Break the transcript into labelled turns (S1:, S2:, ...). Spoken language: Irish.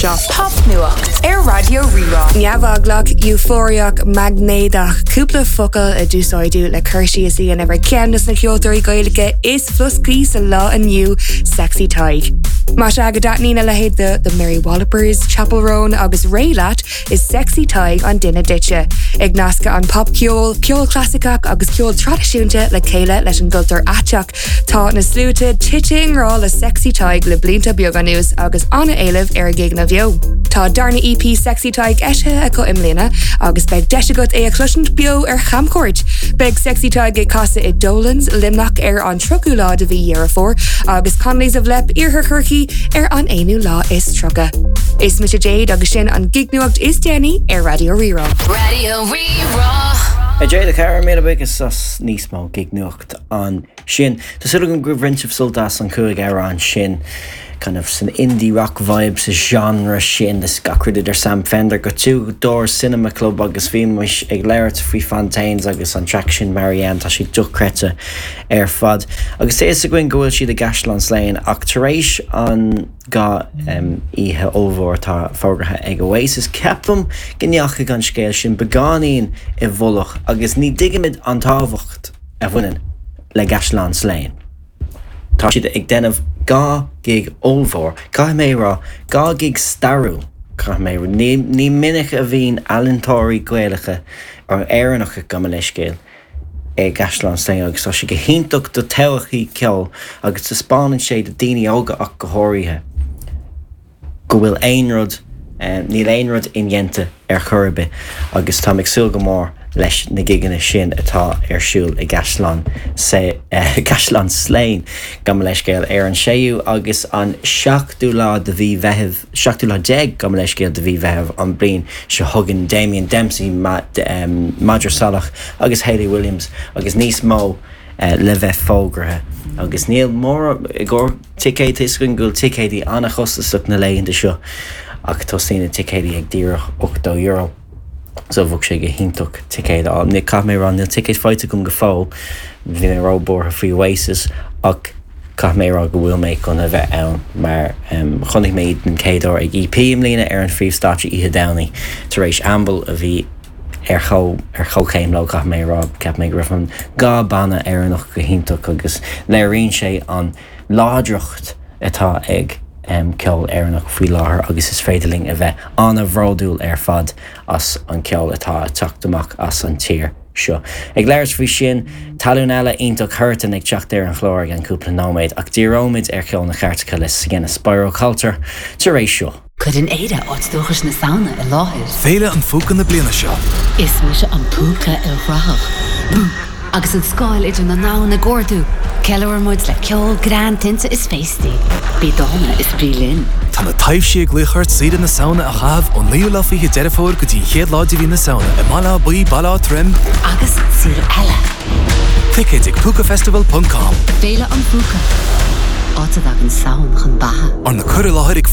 S1: seo. Popnuacht ar Raidió Rí-Rá.
S2: Neamheaglach, eufóiriach, maighnéadach, cúpla focal a d'úsáideadh le cur síos a dhéanamh ar cheann de na ceoltóirí Gaeilge is floscaí sa lá inniu, Sexy Tadhg. Más ea go dtaitníonn a leithéid de The Mary Wallopers, Chappell Roan agus Raye leat, Is Sexy Tadhg an duine duitse. Ag nascadh an popcheol, ceol clasaiceach agus ceol traidisiúnta le chéile leis an gcultúr aiteach, tá na sluaite tite i ngrá le Sexy Tadhg le blianta beaga anuas agus an-éileamh ar a gigeanna beo. Tá darna EP Sexy Tadhg eisithe acu i mbliana agus beidh deis agat é a chloisint beo ar chamchuairt. Beidh Sexy Tadhg ag casadh i Dolan's, Luimneach ar an 30ú lá de mhí Dheireadh Fómhair agus Connolly's of Leap, Iarthar Chorcaí, ar an 31ú lá. Is mise Jade agus sin an gignuacht is déanaí ar Raidió Rí-Rá.
S1: Raidió Rí-Rá.
S3: A Jade, a chara, míle buíochas as níos mó gignuacht ansin. Tá súil agam gur bhain sibh sult as an chúig amhrán sin, kind of san indie rock vibe sa genre sin, is gach rud idir Sam Fender go Two Door Cinema Club agus bhí muid ag labhairt faoi Fontaines agus an track sin Marianne, tá sé dochreidte ar fad. Agus tá fhios againn go bhfuil siad i gCaisleán Slane ach tar éis an 2 oíche ollmhór atá fógartha ag Oasis, ceapaim go ndeachaigh an scéal sin beagáinín i bhfolach agus ní dtuigimid an tábhacht a bhaineann le gCaisleán Slane. Tá siad ag déanamh 2 gig ollmhór, caithfidh mé a rá, 2 gig stairiúil, caithfidh mé a rá. Ní, ní minic a bhíonn ealaíontóirí Gaelacha, Éireannacha, gabh mo leithscéal, i gCaisleán Slane agus tá sé go hiontach do todhchaí ceoil agus taispeánann sé do daoine óga ach go háirithe go bhfuil aon rud, níl aon rud indéanta ar chor ar bith agus táim ag súil go mór leis na gigeanna sin atá ar siúl i gCaisleán gCaisleán Slane, gabh mo leithscéal, ar an séú agus an seachtú lá de mhí Mheithimh. seachtú lá déag, gabh mo leithscéal, de mhí Mheithimh an bhliain seo chugainn, Damien Dempsey, Madra Salach agus Hayley Williams agus níos mó le bheith fógartha. Agus níl mórán i gcomhair ticéid, tá 'fhios againn go bhfuil ticéidí an-chostasach na laethanta seo ach tosaíonn na ticéidí ag díreach €80. So bheadh sé go hiontach ticéad a fháil. Caithfidh mé a rá níl ticéad faighte agam go fóill, bhí mé ró-buartha faoi Oasis ach caithfidh mé a rá go bhfuil mé chun a bheith ann mar chonaic mé iad den chéad uair ag EP i mbliana ar an phríomhstáitse oíche Domhnaigh tar éis Amble a bhí ar chomh ar chomhchéim leo caithfidh mé a rá. Cheap mé go raibh an 2 banna Éireannach go hiontach agus léiríonn sé an láidreacht atá ag ceol Éireannach faoi láthair agus is féidir linn a bheith an-bhródúil ar fad as an ceol atá ag teacht amach as an tír seo. Ag labhairt faoi sin, tallann eile iontach Huartan ag teacht ar an chlár i gceann cúpla nóiméad ach díreoimid ar cheol na gcairteacha le Sienna Spiro Coulter tar éis seo.
S4: Cuireann Éire áit dúchais na Samhna i láthair.
S5: Féile an Phúca na bliana seo.
S4: Is mise an púca ilchruthach. Bú! Agus an scáil idir na ndomhan ag ardú, ceiliúrann muid le ceol, greann, tinte is féastaí. Bí dána is bí linn.
S5: Tá na taibhsí ag glaoch ort saoire na Samhna a chaitheamh ón naoú lá fichead Deireadh Fómhair go dtí an chéad lá de mhí na Samhna i mBaile Átha Buí, Baile Átha Troim,
S4: Agus saol eile.
S5: Ticéid ag púcafestival ponc com.
S4: Féile an Phúca. Áit a dtagann Samhain chun beatha.
S5: Arna cur i láthair ag.